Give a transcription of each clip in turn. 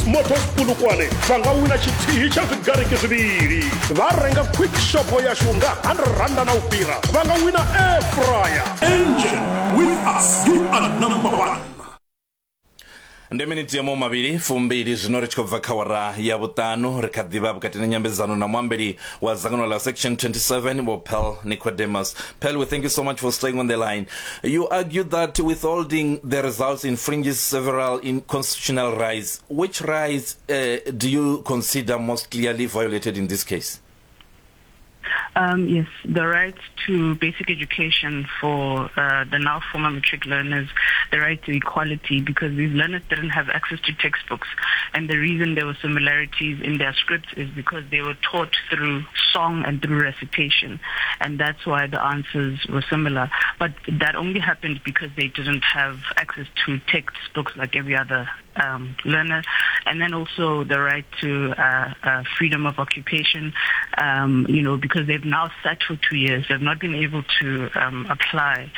Motors Polokwane vha nga wina tshithihi tsha zwigariki zwivhili. Vha renga quick shop yashu nga 100 randa na u fhira vha nga wina air fryer. Engen, with us you are number one. Ndi miniti ya mavhili fumbili zwino ri tshi khou bva kha wara ya vhuṱanu. Ri kha ḓivha vhukati na nyambedzano na muambeli wa dzangano ḽa Section 27 Vho Pearl Nicodemus. Pearl, we thank you so much for staying on the line. You argue that withholding the results infringes several in constitutional rights. Which rights do you consider most clearly violated in this case? Yes, the right to basic education for the now former matric learners, the right to equality, because these learners didn't have access to textbooks. And the reason there were similarities in their scripts is because they were taught through song and through recitation. And that's why the answers were similar. But that only happened because they didn't have access to textbooks like every other learner. And then also the right to freedom of occupation, because they've now sat for 2 years. They've not been able to apply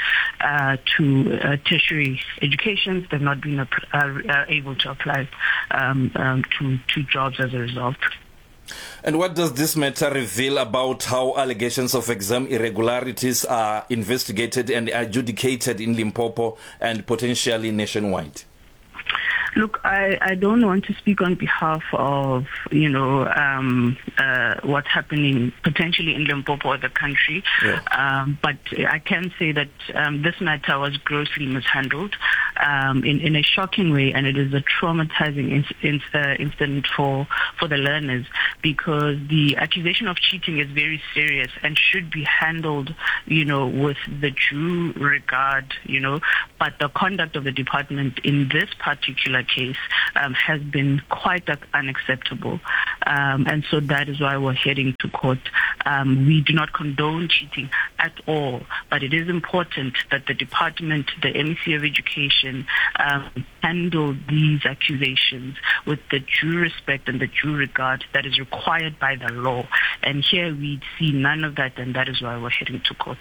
to tertiary educations. They've not been able to apply to jobs as a result. And what does this matter reveal about how allegations of exam irregularities are investigated and adjudicated in Limpopo and potentially nationwide? Look, I don't want to speak on behalf of, what's happening potentially in Limpopo or the country. Yeah. But I can say that this matter was grossly mishandled in a shocking way, and it is a traumatizing incident for the learners, because the accusation of cheating is very serious and should be handled, with the due regard, but the conduct of the department in this particular case has been quite unacceptable. And so that is why we're heading to court. We do not condone cheating at all, but it is important that the department, the MEC of Education, handle these accusations with the due respect and the due regard that is required by the law. And here we see none of that, and that is why we're heading to court.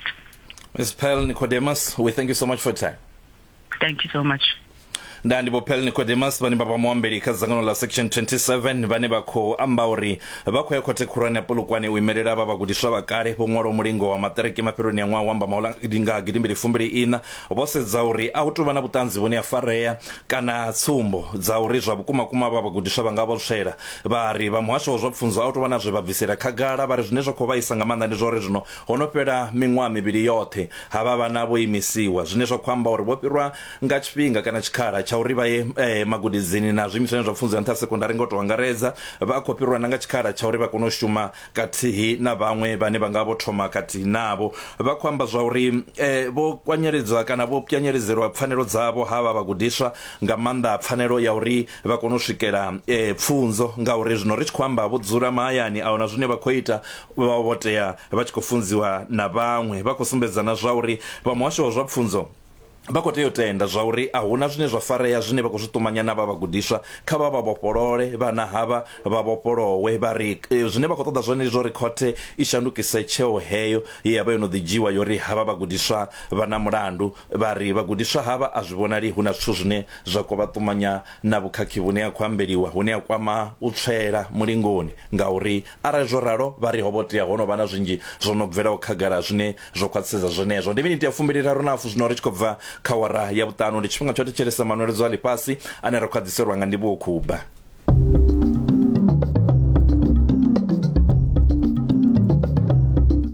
Ms. Pearl Nicodemus, we thank you so much for your time. Thank you so much. Nda ndi Vho Pearl Nicodemus vhane vha vha muambeli kha dzangano ḽa Section 27 vhane vha khou amba uri vha khou ya khothe khulwane ya Polokwane u imelela vha vhagudiswa vha kale vho ṅwalaho mulingo wa maṱiriki mafheloni a ṅwaha wa Mbamaula nga gidimbili fumbili iṋa. Vho sedza uri a hu tou vha na vhuṱanzi vhune ha farea kana tsumbo dza uri zwa vhukumakuma vha vhagudiswa vha nga vho tswela. Vha ri vha muhasho wa zwa pfunzo a hu tou vha na zwe vha bvisela khagala. Vha ri zwine zwa khou vhaisa nga maanḓa ndi zwa uri zwino ho no fhela miṅwaha mivhili yoṱhe havha vhana vho imisiwa, zwine zwa khou amba uri vho fhirwa nga tshifhinga kana tshikhala tsha uri vha ye magudedzini na zwiimiswani zwa pfunzo ya nṱha ha sekondari nga u tou angaredza. Vha khou fhirwa na nga tshikhala tsha uri vha kone u shuma kathihi na vhaṅwe vhane vha nga vho thoma khathihi navho. Vha khou amba zwa uri vho kwanyeledzwa kana vho pwanyeledzelwa pfanelo dzavho havha vhagudiswa, nga maanḓa pfanelo ya uri vha kone u swikela pfunzo, ngauri zwino ri tshi khou amba vho dzula mahayani a huna zwine vha khou ita, vha vho tea vha tshi khou funziwa na vhaṅwe. Vha khou sumbedza na zwa uri vha muhasho wa zwa pfunzo vha khou tea u tenda zwa uri a huna zwine zwa farea zwine vha khou zwi ṱumanya na vha vhagudiswa, kha vha vha vhofholole vhana havha vha vhofholowe. Vha ri zwine vha khou ṱoḓa zwone ndi zwa uri khothe i shandukise tsheo heyo ye ya vha yo no ḓi dzhiiwa ya uri havha vhagudiswa vha na mulandu. Vha ri vhagudiswa havha a zwi vhonali hu na zwithu zwine zwa khou vha ṱumanya na vhukhakhi vhune ha khou ambeliwa hune ha kwama u tswela mulingoni, ngauri arali zwo ralo vha ri ho vho tea ho no vha na zwinzhi zwo no bvelaho khagala zwine zwo khwaṱhisedza zwenezwo. Ndi miniti ya fumbiliraru na hafu zwino ri tshi khou bva kha awara ya vhuṱanu. Ndi tshifhinga tsha u thetshelesa manweledzo a ḽifhasi ane ra khou a ḓiselwa nga Ndivhuwo Khuba.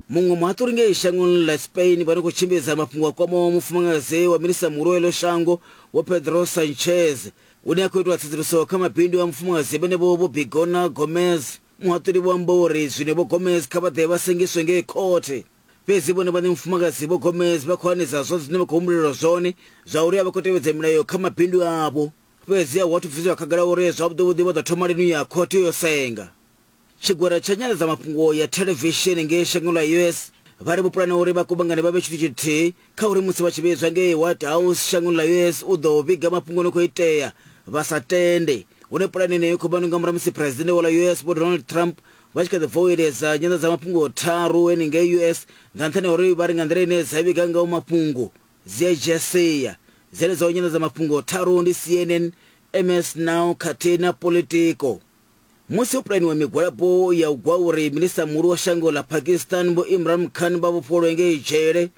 Muṅwe muhaṱuli ngei shangoni ḽa Spain vha no khou tshimbidza mafhungo a kwamaho mufumakadzi wa minisiṱa muhulu wa iḽo shango Vho Pedro Sanchez hune ha khou itwa tsedzuluso kha mabindu a mufumakadzi vhenevho Vho Begoña Gomez. Muhaṱuli vho amba uri zwino Vho Gomez kha vha ḓe vha sengiswe ngei khothe. Fhedzi vhone vhaṋe mufumakadzi Vho Gomez vha khou hanedza zwoṱhe zwine vha khou humbulelwa zwone zwa uri a vha khou tevhedza milayo kha mabindu avho. Fhedzi a hu athu bviselwa khagala uri zwavhuḓivhuḓi vha ḓo thoma lini u ya khothe u yo senga. Tshigwada tsha nyanḓadzamafhungo ya thelevishini ngei shangoni ḽa US vha ri vho pulana uri vha kuvhangane vha vhe tshithu tshithihi kha uri musi vha tshi vhidzwa ngei White House shangoni ḽa US u ḓo vhiga mafhungo no khou itea vha sa tende. Hune pulane yeneyo khou vha nga murahu musi Phresidennde wa ḽa US Vho Donald Trump vha tshi kha ḓi bva u iledza nyanḓadzamafhungo tharu henengei US nga nṱhani ha uri vha ri nga nḓila ine dza vhiga ngaho mafhungo dzi a dzhia sia. Dzenedzo nyanḓadzamafhungo tharu ndi CNN, MS Now khathihi na Politico. Musi ho pulaniwa migwalabo ya u gwa uri minisiṱa muhulu wa shango ḽa Pakistan Vho Imran Khan vha vhofhololwe ngei dzhele,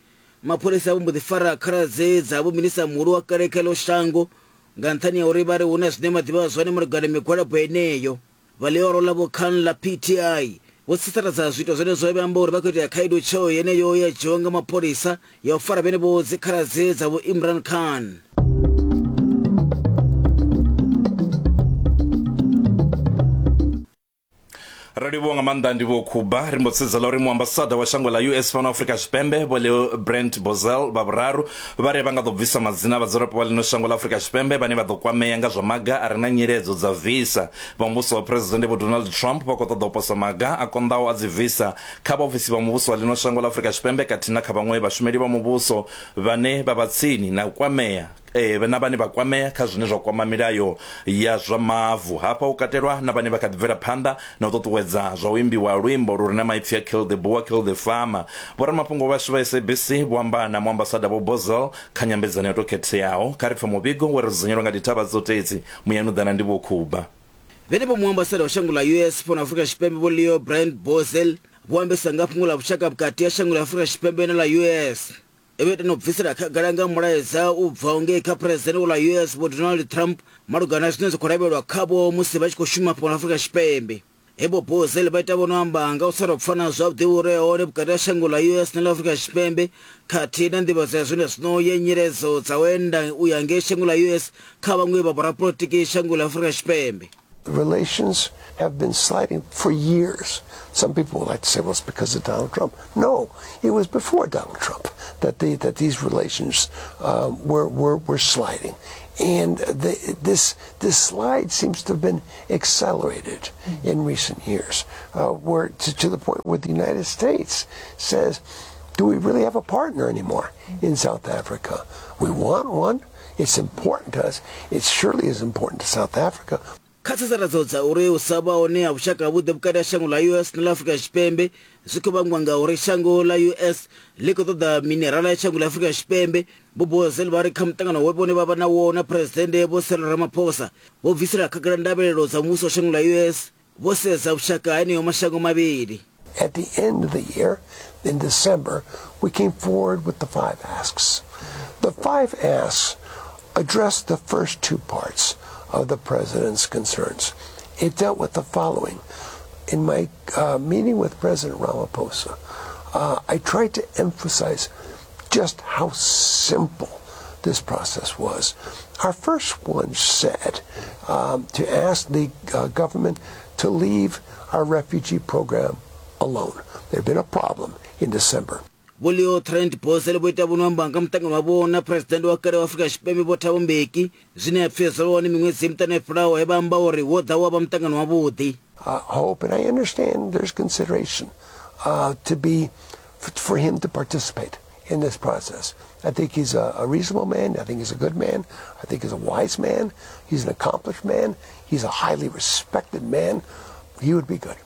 mapholisa vho mbo ḓi fara khaladzi dza vho minisiṱa muhulu wa kale kha ḽo shango nga nṱhani ha uri vha ri hu na zwine vha ḓivha zwone malugana na migwalabo yeneyo. Vha ḽihoro ḽa Vho Khan ḽa PTI vho sasaladza zwiito zwenezwo vha amba uri vha khou itea khaedu tsheo yeneyo ya dzhiwa nga mapholisa ya u fara vhenevho dzikhaladzi dza Vho Imran Khan. Ro livhuwa nga maanḓa ndi Vho Khuba. Ri mbo sedza ḽa uri muambasada wa shango ḽa US fhano Afrika Tshipembe Vho Leo Brent Bozell vha vhuraru vha ri vha nga ḓo bvisa madzina a vhadzulapo vha ḽino shango ḽa Afrika Tshipembe vhane vha ḓo kwamea nga zwa maga a re na nyiledzo dza visa. Vha muvhuso wa Phresidennde Vho Donald Trump vha khou ṱoḓa u posa maga a konḓaho a dzi visa kha vhaofisi vha muvhuso wa ḽino shango ḽa Afrika Tshipembe khathihi na kha vhaṅwe vhashumeli vha muvhuso vhane vha vha tsini na u kwamea na vhane vha kwamea kha zwine zwa kwama milayo ya zwa mavu. Hafha hu katelwa na vhane vha kha ḓi bvela phanḓa na u ṱuṱuwedza zwa u imbiwa ha luimbo lu re na maipfi a Kill the Boer, Kill the Farmer. Vhoramafhungo vhashu vha SABC vho amba na Muambasada Vho Bozell kha nyambedzano yo tou khetheaho. Kha ri pfe muvhigo we ra dzudzanyelwa nga Dithavha Tsotetsi, Muyanuḓana ndi Vho Khuba. Vhenevho muambasada wa shango ḽa US fhano Afrika Tshipembe Vho Leo Brand Bozell vho ambesa nga fhungo ḽa vhushaka vhukati ha shango ḽa Afrika Tshipembe na ḽa US. Vho ita na u bvisela khagala nga mulaedza u bvaho ngei kha Phresidennde wa ḽa US Vho Donald Trump malugana na zwine zwa khou lavhelelwa khavho musi vha tshi khou shuma fhano Afrika Tshipembe. He Vho Bozell vha ita vho no amba nga u sa tou pfana zwavhuḓi hu re hone vhukati ha shango ḽa US na ḽa Afrika Tshipembe khathihi na nḓivhadzo ya zwenezwino ya nyiledzo dza u enda u ya ngei shango ḽa US kha vhaṅwe vha vhorapolotiki shango ḽa Afrika Tshipembe. Relations have been sliding for years. Some people would like to say, well, it's because of Donald Trump. No, it was before Donald Trump that the, that these relations were, were, were sliding. And the, this, this slide seems to have been accelerated in recent years, where to, to the point where the United States says, do we really have a partner anymore in South Africa? We want one. It's important to us. It surely is important to South Africa. Kha tsasaladzo dza uri u sa vha hone ha vhushaka havhuḓi vhukati ha shango ḽa US na ḽa Afrika Tshipembe zwi khou vhangwa nga uri shango ḽa US ḽi khou ṱoḓa minerala ya shango ḽa Afrika Tshipembe, Vho Bozell vha ri kha muṱangano we vhone vha vha nawo na Phresidennde Vho Cyril Ramaphosa, vho bvisela khagala ndavhelelo dza muvhuso wa shango ḽa US vho sedza vhushaka ha eneo mashango mavhili. At the end of the year, in December, we came forward with the five asks. The five asks addressed the first two parts of the president's concerns. It dealt with the following. In my meeting with President Ramaphosa, I tried to emphasize just how simple this process was. Our first one said to ask the government to leave our refugee program alone. There had been a problem in December. Vho Leo Trent Bozell vho ita vho no amba nga muṱangano wavho na Phresidennde wa kale wa Afrika Tshipembe Vho Thabo Mbeki zwine ha pfi zwo vha hone miṅwedzi miṱanu yo fhelaho he vha amba uri wo ḓa wa vha muṱangano wavhuḓi. Hope, and I understand there's consideration to be for him to participate in this process. I think he's a reasonable man. I think he's a good man. I think he's a wise man. He's an accomplished man. He's a highly respected man. He would be good.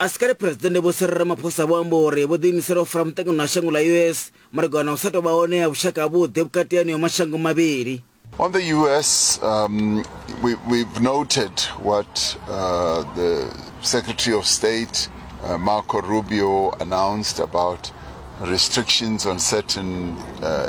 A si kale Phresidennde Vho Cyril Ramaphosa vho amba uri vho ḓiimisela u fara muṱangano na shango ḽa US malugana na u sa tou vha hone ha vhushaka havhuḓi vhukati ha eneo mashango mavhili. On the US, we, we've noted what the Secretary of State, Marco Rubio, announced about restrictions on certain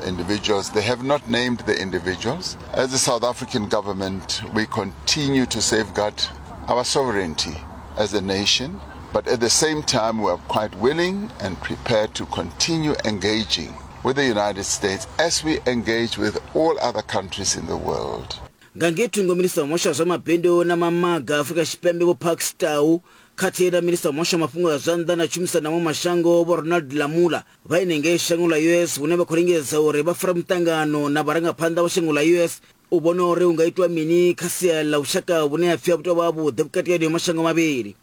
individuals. They have not named the individuals. As the South African government, we continue to safeguard our sovereignty as a nation, but at the same time, we are quite willing and prepared to continue engaging with the United States as we engage with all other countries in the world. Nga ngei thungo, Minisiṱa wa Muhasho wa zwa Mabindu na Mamaga Afrika Tshipembe Vho Parks Tau khathihi na Minisiṱa wa Muhasho wa Mafhungo a zwa Nnḓa na Tshumisano na Maṅwe Mashango Vho Ronald Lamola vha henengei shango ḽa US hune vha khou lingedza uri vha fare muṱangano na vharangaphanḓa vha shango ḽa US u vhona uri hu nga itwa mini kha sia ḽa vhushaka vhune ha pfi a vhu tou vha havhuḓi vhukati ha eneo mashango mavhili.